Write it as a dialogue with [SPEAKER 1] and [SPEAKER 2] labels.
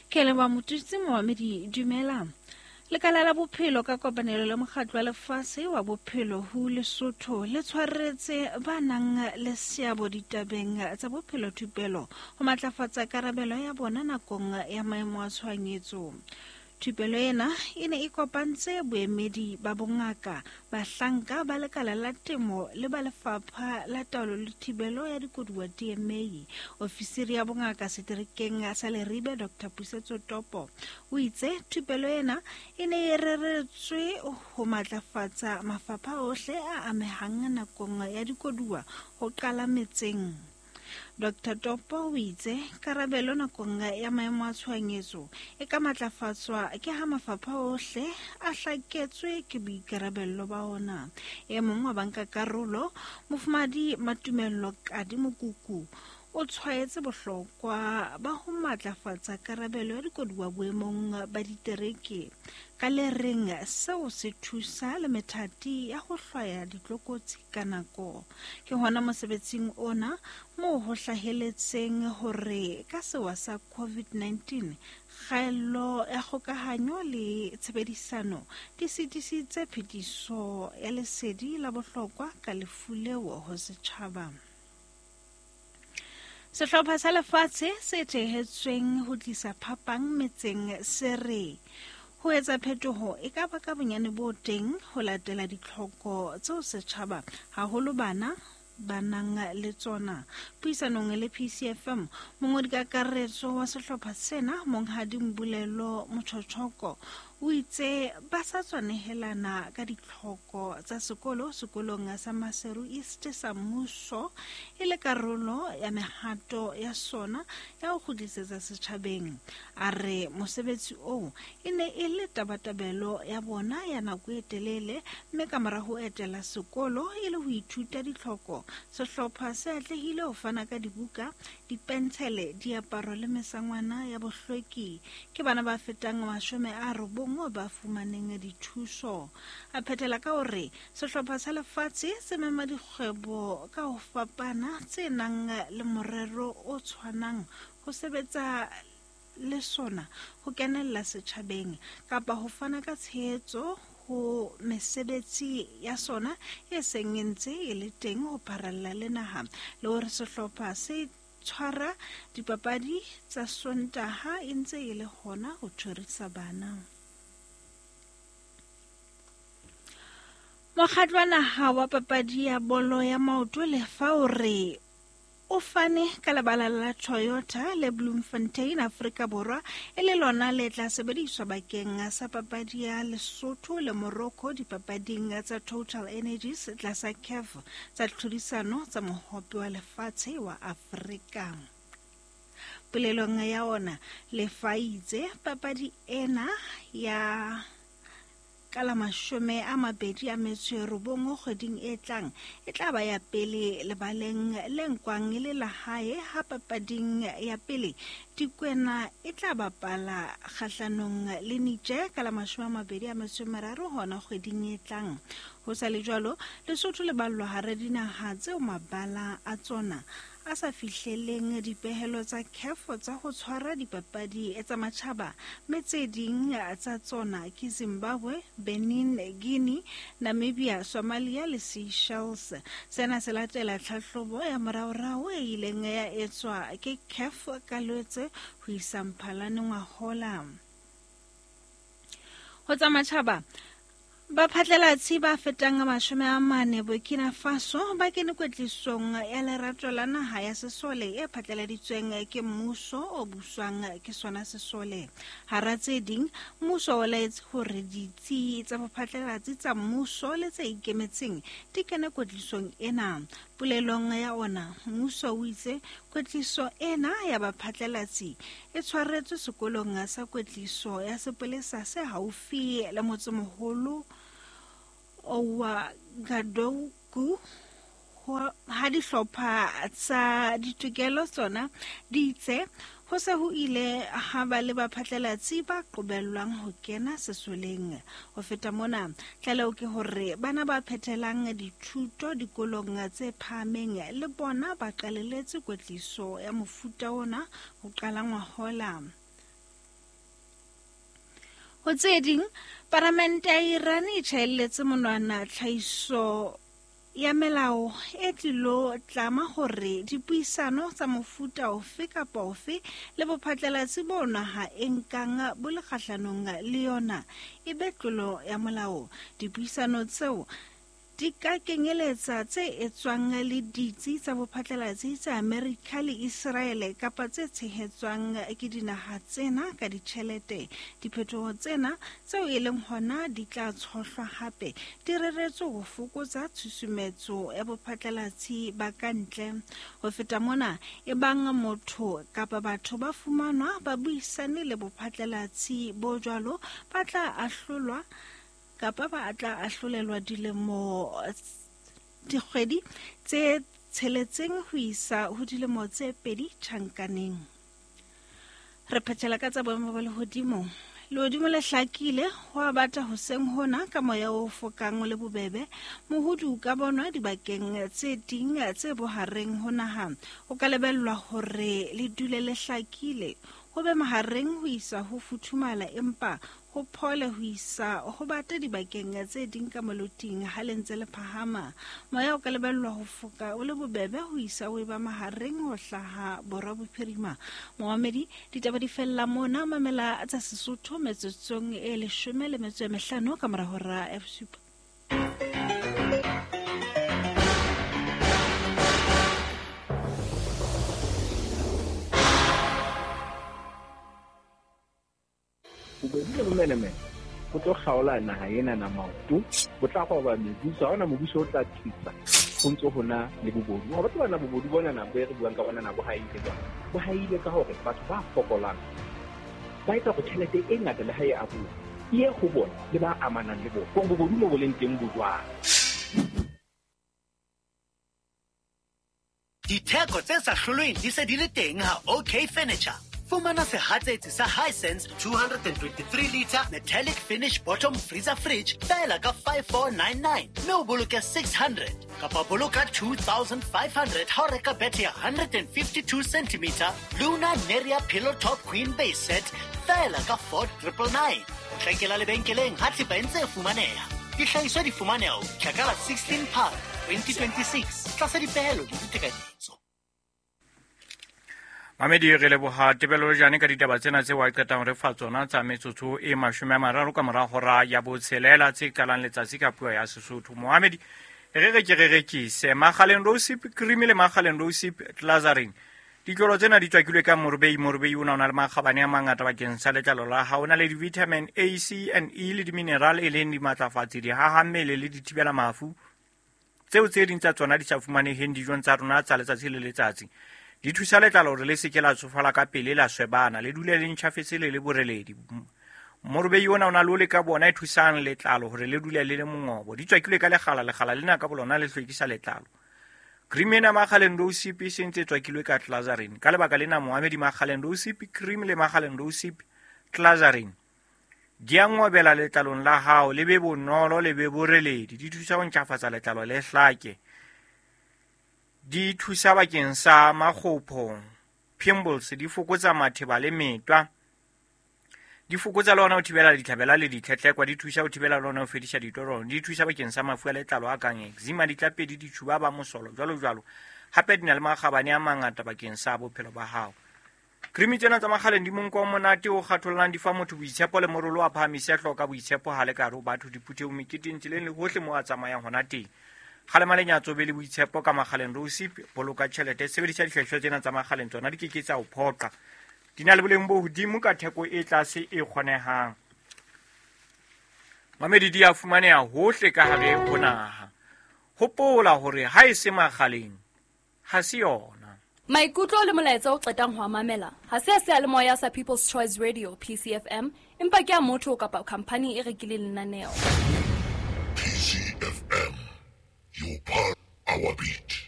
[SPEAKER 1] Ke leboha Motutsi Momamedi dumela. Lekala la bophelo ka kopanelo le mokgatlo wa lefase wa bophelo ho Lesotho le tshwaretse ba nang le seabo ditabeng tsa bophelo thupelo ho matlafatsa karabelo ya bona nakong ya maemo a tshohanyetso. Thupelo ena e ne e kopantse boemedi ba bongaka, bahlanka ba lekala la temo le ba lefapha la taolo le thibelo ya dikoduwa DMA. Ofisiri ya bongaka seterekeng sa Leribe Dr. Pusetso Topo o itse thupelo ena e ne e reretswe ho matlafatsa mafapha ohle a amehang nakong ya dikoduwa ho qala metseng. Dr Topo o itse karabelo nakong ya maemo a tshohanyetso e ka matlafatswa ke ha mafapha ohle a hlaketswe ke boikarabello ba ona. E mong wa bankakarolo, Mofumahadi Matumello Kadi Mokuku, o tshwaetse bohlokwa ba ho matlafatsa karabelo ya dikoduwa boemong ba ditereke ka le reng seo se thusa le methati ya ho hlwaya ditlokotsi ka nako. Ke hona mosebetsing ona moo ho hlaheletseng hore ka sewa sa COVID-19, kgaello ya kgokahanyo le tshebedisano di sitisitse phetiso ya lesedi la bohlokwa ka lefu leo ho setjhaba. Sehlopha sa lefatshe se thehetsweng ho tlisa phapang metseng se re ho etsa phetoho e ka ba ka bonyane bo teng ho latela ditlhoko tseo setjhaba haholo bana ba nang le tsona. Puisanong le PCFM, mongodi kakaretso wa sehlopha sena Monghadi Mbulelo Mochochoko o itse ba sa tswa nehelana ka ditlhoko tsa sekolo sekolong sa Maseru East sa mmuso e le karolo ya mehato ya sona ya ho kgutlisetsa setjhabeng. A re mosebetsi oo e ne e le tabatabelo ya bona ya nako e telele mme ka mora ho etela sekolo e le ho ithuta ditlhoko, sehlopha se atlehile ho fana ka dibuka, dipentshele, diaparo le mesangwana ya bohlweki. Ke bana ba fetang 90 ba fumaneng dithuso. A phethela ka hore sehlopha sa lefatshe se mema dikgwebo ka ho fapana tse nang le morero o tshwanang ho sebetsa le sona ho kenella setjhabeng kapa ho fana ka tshehetso ho mesebetsi ya sona e seng e ntse e le teng ho pharalla le naha, le hore sehlopha se tshwara dipapadi tsa Sontaha e ntse e le hona ho tjhorisa bana. Mokgatlo wa naha wa papadi ya bolo ya maoto lefa o re o fane ka lebala la Toyota le Bloemfontein, Afrika Borwa, e le lona le tla sebediswa bakeng sa papadi ya Lesotho le Morocco dipapading tsa Total Energies tlasa CAF tsa tlhodisano tsa Mohope wa Lefatshe wa Afrika. Polelong ya ona, Lefa itse papadi ena ya Ka la 29 kgweding e tlang, e tla ba ya pele lebaleng le nkwang e le la hae ha papading ya pele Dikwena e tla bapala kgahlanong le Niger ka la 23 hona kgweding e tlang. Ho sa le jwalo, Lesotho le ballwa hara dinaha tseo mabala a tsona a sa fihleleng dipehelo tsa CAF tsa ho tshwara dipapadi tsa matjhaba mme tse ding tsa tsona ke Zimbabwe, Benin, Guinea, Namibia, Somalia le Seychelles. Sena se latela tlhahlobo ya moraorao e ileng ya etswa ke CAF ka Lwetse ho isa Mphalane ngwahola. Ho tsa matjhaba, Baphatlalatsi ba fetang 40 Burkina Faso ba kene kwetlisong ya lerato la naha ya sesole e phatlaladitsweng ke mmuso o buswang ke sona sesole. Hara tse ding, mmuso o laetse hore ditsi tsa bophatlalatsi tsa mmuso le tse ikemetseng di kene kwetlisong ena. Polelong ya ona, mmuso o itse kwetliso ena ya baphatlalatsi e tshwaretswe sekolong sa kwetliso ya sepolesa se haufi le motsemoholo Ouagadougou ha dihlopha tsa ditokelo tsona di itse ho se ho ile ha ba le baphatlalatsi ba qobellwang ho kena sesoleng. Ho feta mona, tlaleho ke hore bana ba phethelang dithuto dikolong tse phahameng le bona ba qaleletse kwetliso ya mofuta ona ho qala ngwahola. Ho tse ding, Palamente ya Iran e tjhaelletse monwana tlhahiso ya melao e tlilo tlama hore dipuisano tsa mofuta ofe kapa ofe le bophatlalatsi bo naha e nkang bo le kgahlanong le yona e be tlolo ya molao. Dipuisano tseo di ka kenyeletsa tse etswang le ditsi tsa bophatlalatsi tsa Amerika le Iseraele kapa tse tshehetswang ke dinaha tsena ka ditjhelete. Diphetoho tsena tseo e leng hona di tla tshohlwa hape di reretswe ho fokotsa tshusumetso ya bophatlalatsi ba ka ntle. Ho feta mona, ebang motho kapa batho ba fumanwa ba buisane le bophatlalatsi bo jwalo, ba tla ahlolwa kapa ba tla ahlolelwa dilemo dikgwedi tse tsheletseng ho isa ho dilemo tse 2 tjhankaneng. Re phethela ka tsa boemo ba lehodimo. Lehodimo le hlakile, ho a bata hoseng hona ka moya o fokang le bobebe. Mohudu o ka bonwa dibakeng tse ding tse bohareng ho naha. O ka lebellwa hore le dule le hlakile, ho be mahareng ho isa ho futhumala, empa ho phole ho isa ho bata dibakeng tse ding ka moloting ha le ntse le phahama. Moya o ka lebellwa ho foka o le bobebe ho isa o eba mahareng ho hlaha borwa bophirima. Moamedi, ditaba di fella mona. Mamela tsa Sesotho metsotsong e 15 ka mora hora ya bosupa.
[SPEAKER 2] Bobedi le bomenemene bo tlo kgaola naha ena na maoto, bo tla roba mebuso. Ha hona mobuso o tla tsitsa ho ntso hona le bobodu. Ha batho bana bobodu bona na bo re buang ka bona na bo haile jwang? Bo haile ka hore batho ba fokolang ba etsa hore tjhelete e ngata le ha e abuwa e ye ho bona le ba amanang le bona. Hore bobodu mo bo leng teng bo jwang?
[SPEAKER 3] Ditheko tse sa hlolweng di se di le teng ha OK Furniture. Fumana sehatsetsi sa Hisense 223 liter metallic finish bottom freezer fridge feela ka 5499 mme o boloke 600 kapa boloka 2500 ha o reka bethe ya 152 cm Luna Neria Pillow Top Queen Base Set feela ka 4999. Tlekela lebenkeleng ha thepa e ntse e fumaneha. Dihlahiswa di fumaneha ho fihla ka la 16 Phato 2026 tlasa dipehelo le ditekanyetso.
[SPEAKER 4] Mamedi, re leboha Tebello Jane ka ditaba tsena tseo a qetang re fa tsona tsa metsotso e 30 ka mora hora ya botshelela tse qalang letsatsi ka puo ya Sesotho. Mohamedi, re re ke re rekise Makgaleng Rosip cream le Makgaleng Rosip Glazarin. Ditlolo tsena di tswakilwe ka morobei. Morobei o na le makgabane a mangata bakeng sa letlalo la hao. O na le di-vitamin A, C and E le di-mineral e leng dimatlafatsi, dihahammele le dithibela mafu tseo tse ding tsa tsona di sa fumaneheng dijong tsa rona tsa letsatsi le letsatsi. Di thusa letlalo hore le se ke la tsofala ka pele, la swebana, le dule le ntjhafetse le le boreledi. Morobei ona o na le ole ka bona e thusang letlalo hore le dule le le mongobo. Di tswakilwe ka lekgala, lekgala lena ka bolona le hlwekisa letlalo. Cream ena Makgaleng Rosip e sentse e tswakilwe ka Glazarin. Ka lebaka lena Mohamedi, Makgaleng Rosip cream le Makgaleng Rosip Glazarin di a ngobela letlalong la hao, le be bonolo, le be boreledi. Di thusa ho ntjhafatsa letlalo le hlake. Di thusa bakeng sa makgopho, pimples, di fokotsa matheba le metwa. Di fokotsa le hona ho thibela ditlhabela le ditlhetlekwa, di thusa ho thibela le hona ho fedisa ditorong, di thusa bakeng sa mafu a letlalo a kang eczema, ditlapedi, ditjhuba ba mosolo, jwalo jwalo. Hape di na le makgabane a mangata bakeng sa bophelo ba hao. Cream tsena tsa Makgaleng di monko o monate o kgathollang, di fa motho boitshepo le morolo wa phahamise hloka boitshepo ha le ka hare ho batho, diphuthehong, meketeng, tseleng le hohle moo a tsamayang hona teng. Kgalema lenyatso, be le boitshepo ka Makgaleng Rosip, boloka tjhelete, sebedisa dihlahiswa tsena tsa Makgaleng, tsona di ke ke tsa o phoqa. Di na le boleng bo hodimo ka theko e tlase e kgonehang. Mamedi di a fumaneha hohle ka hare ho naha. Hopola hore ha e se Makgaleng, ha se yona.
[SPEAKER 5] Maikutlo le molaetsa o qetang ho a mamela ha se a seyalemoya sa People's Choice Radio PCFM, empa ke a motho kapa khampani e rekileng lenaneo.
[SPEAKER 6] PCFM, your part, our beat.